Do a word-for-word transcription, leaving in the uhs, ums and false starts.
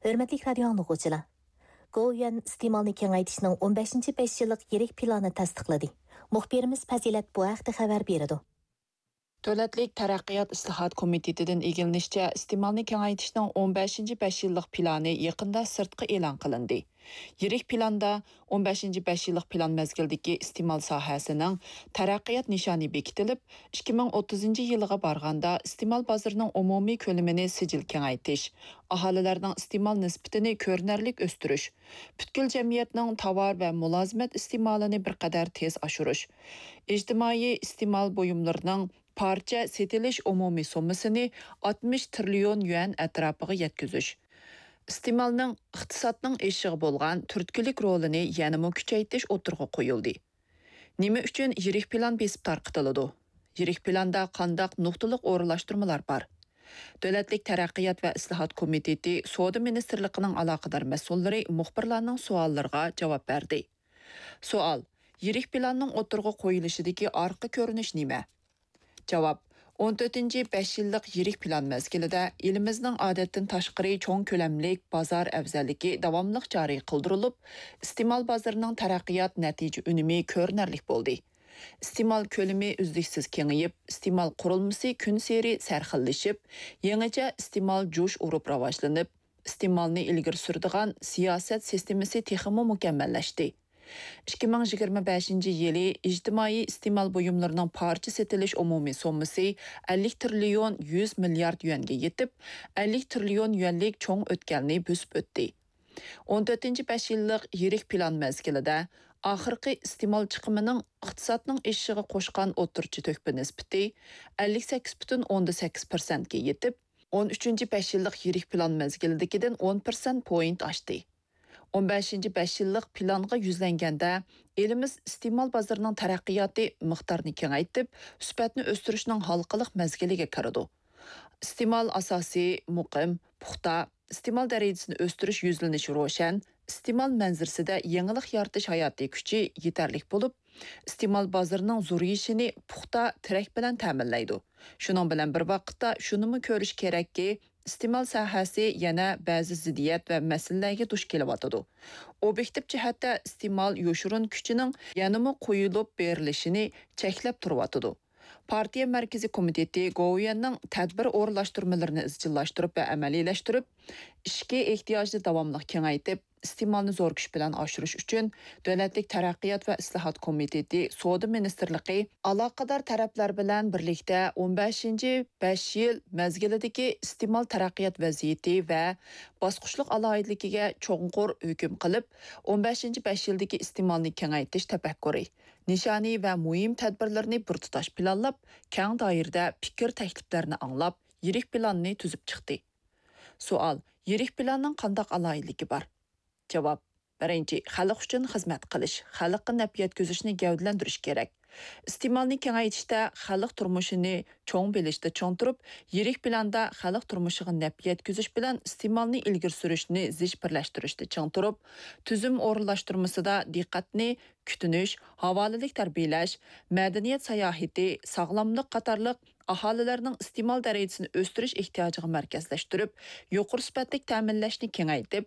ھۆرمەتلىك رادىيو ئاڭلىغۇچىلار! گوۋۇيۈەن ئىستېمالنى كېڭەيتىشنىڭ ئون بەشىنچى بەش يىللىق يىرىك پىلانى تەستىقلىدى. مۇخبىرىمىز پەزىلەت بۇ ھەقتە خەۋەر بېرىدۇ. دۆلەتلىك تەرەققىيات ئىسلاھات كومىتېتىدىن ئىگىلىنىشىچە، ئىستېمالنى كېڭەيتىشنىڭ ئون بەشىنچى بەش يىللىق پىلانى يېقىندا سىرتقا ئېلان قىلىندى. يىرىك پىلاندا ئون بەشىنچى بەش يىللىق پىلان مەزگىلىدىكى ئىستېمال ساھەسىنىڭ تەرەققىيات نىشانى بېكىتىلىپ، ئىككى مىڭ ئوتتۇزىنچى يىلىغا بارغاندا ئىستېمال بازىرىنىڭ ئومۇمىي كۆلىمىنى سىجىل كېڭەيتىش، ئاھالىلەرنىڭ ئىستېمال نىسبىتىنى كۆرۈنەرلىك ئۆستۈرۈش، پۈتكۈل جەمئىيەتنىڭ تاۋار ۋە مۇلازىمەت ئىستېمالىنى بىر قەدەر تېز ئاشۇرۇش، ئىجتىمائىي ئىستېمال بۇيۇملىرىنىڭ پارچە سېتىلىش ئومۇمىي سوممىسىنى ئاتمىش تىرىليون يۈەن ئەتراپىغا يەتكۈزۈش، ئىستېمالنىڭ ئىقتىسادنىڭ ئېشىشىغا بولغان تۈرتكىلىك رولىنى يەنىمۇ كۈچەيتىش ئوتتۇرىغا قويۇلدى. نېمە ئۈچۈن يىرىك پىلان بېسىپ تارقىتىلىدۇ؟ يىرىك پىلاندا قانداق نۇقتىلىق ئورۇنلاشتۇرمىلار بار؟ دۆلەتلىك تەرەققىيات ۋە ئىسلاھات كومىتېتى سودا مىنىستىرلىقىنىڭ ئالاقىدار مەسئۇللىرى مۇخبىرلارنىڭ سوئاللىرىغا جاۋاب بەردى. سوئال: يىرىك پىلاننىڭ ئوتتۇرىغا قويۇلۇشىدىكى ئارقا كۆرۈنۈش نېمە؟ جاۋاب: ئون تۆتىنچى بەش يىللىق يىرىك پىلان مەزگىلىدە ئېلىمىزنىڭ ئادەتتىن تاشقىرى چوڭ كۆلەملىك بازار ئەۋزەللىكى داۋاملىق جارى قىلدۇرۇلۇپ، ئىستېمال بازىرىنىڭ تەرەققىيات نەتىجە ئۈنۈمى كۆرۈنەرلىك بولدى. ئىستېمال كۆلىمى ئۈزلۈكسىز كېڭىيىپ، ئىستېمال قۇرۇلمىسى كۈنسېرى سەرخىللىشىپ، يېڭىچە ئىستېمال جۇش ئۇرۇپ راۋاجلىنىپ، ئىستېمالنى ئىلگىرى سۈرىدىغان سىياسەت سىستېمىسى تېخىمۇ مۇكەممەللەشتى. ئىككى مىڭ يىگىرمە بەشىنچى يىلى ئىجتىمائىي ئىستېمال بۇيۇملىرىنىڭ پارچە سېتىلىش ئومۇمىي سوممىسى ئەللىك تىرىليون يۈز مىليارد يۈەنگە يېتىپ، ئەللىك تىرىليون يۈەنلىك چوڭ ئۆتكەلنى بۆسۈپ ئۆتتى. ئون تۆتىنچى بەش يىللىق يىرىك پىلان مەزگىلىدە ئاخىرقى ئىستېمال چىقىمىنىڭ ئىقتىسادنىڭ ئېشىشىغا قوشقان ئوتتۇرىچە تۆھپە نىسبىتى ئەللىك سەككىز پۈتۈن ئوندىن سەككىز پىرسەنتكە يېتىپ، ئون ئۈچىنچى بەش يىللىق يىرىك پىلان مەزگىلىدىكىدىن ئون پىرسەنت پوينت ئاشتى. ئون بەشىنچى بەش يىللىق پىلانغا يۈزلەنگەندە، ئېلىمىز ئىستېمال بازىرىنىڭ تەرەققىياتى مىقدارىنى كېڭەيتىپ، سۈپەتنى ئۆستۈرۈشنىڭ ھالقىلىق مەزگىلىگە كىرىدۇ. ئىستېمال ئاساسى مۇقىم، پۇختا، ئىستېمال دەرىجىسىنى ئۆستۈرۈش يۈزلىنىشى روشەن، ئىستېمال مەنزىرىسىدە يېڭىلىق يارىتىش ھاياتىي كۈچى يېتەرلىك بولۇپ، ئىستېمال بازىرىنىڭ زورىيىشىنى پۇختا تىرەك بىلەن تەمىنلەيدۇ. شۇنىڭ بىلەن بىر ۋاقىتتا، شۇنىمۇ كۆرۈش كېرەككى، ئىستېمال ساھەسى يەنە بەزى زىددىيەت ۋە مەسىلىلەرگە دۇچ كېلىۋاتىدۇ. ئوبيېكتىپ جەھەتتە ئىستېمال يوشۇرۇن كۈچىنىڭ يەنىمۇ قويۇلۇپ بېرىلىشىنى چەكلەپ تۇرۇۋاتىدۇ. پارتىيە مەركىزىي كومىتېتى گوۋۇيۈەننىڭ تەدبىر ئورۇنلاشتۇرمىلىرىنى ئىزچىللاشتۇرۇپ ۋە ئەمەلىيلەشتۈرۈپ، ئىچكى ئېھتىياجنى داۋاملىق كېڭەيتىپ، ئىستېمالنى زور كۈچ بىلەن ئاشۇرۇش ئۈچۈن دۆلەتلىك تەرەققىيات ۋە ئىسلاھات كومىتېتى، سودا مىنىستىرلىقى ئالاقىدار تەرەپلەر بىلەن بىرلىكتە ئون بەشىنچى بەش يىل مەزگىلىدىكى ئىستېمال تەرەققىيات ۋەزىيىتى ۋە باسقۇچلۇق ئالاھىدىلىكىگە چوڭقۇر ھۆكۈم قىلىپ، ئون بەشىنچى بەش يىلدىكى ئىستېمالنى كېڭەيتىش تەپەككۇرى، نىشانى ۋە مۇھىم تەدبىرلىرىنى بىر تۇتاش پىلانلاپ، كەڭ دائىرىدە پىكىر تەكلىپلەرنى ئاڭلاپ، يىرىك پىلاننى تۈزۈپ چىقتى. سوئال: يىرىك پىلاننىڭ قانداق ئالاھىدىلىكى بار؟ جاۋاب: بىرىنچى، خەلق ئۈچۈن خىزمەت قىلىش، خەلققە نەپ يەتكۈزۈشنى گەۋدىلەندۈرۈش كېرەك. ئىستېمالنى كېڭەيتىشتە خەلق تۇرمۇشىنى چوڭ بىلىشتە چىڭ تۇرۇپ، يىرىك پىلاندا خەلق تۇرمۇشىغا نەپ يەتكۈزۈش بىلەن ئىستېمالنى ئىلگىرى سۈرۈشنى زىچ بىرلەشتۈرۈشتە چىڭ تۇرۇپ، تۈزۈم ئورۇنلاشتۇرمىسىدا دىققەتنى كۈتۈنۈش، ھاۋالىلىك تەربىيەلەش، مەدەنىيەت ساياھىتى، ساغلاملىق قاتارلىق ئاھالىلەرنىڭ ئىستېمال دەرىجىسىنى ئۆستۈرۈش ئېھتىياجىغا مەركەزلەشتۈرۈپ، يۇقىرى سۈپەتلىك تەمىنلەشنى كېڭەيتىپ،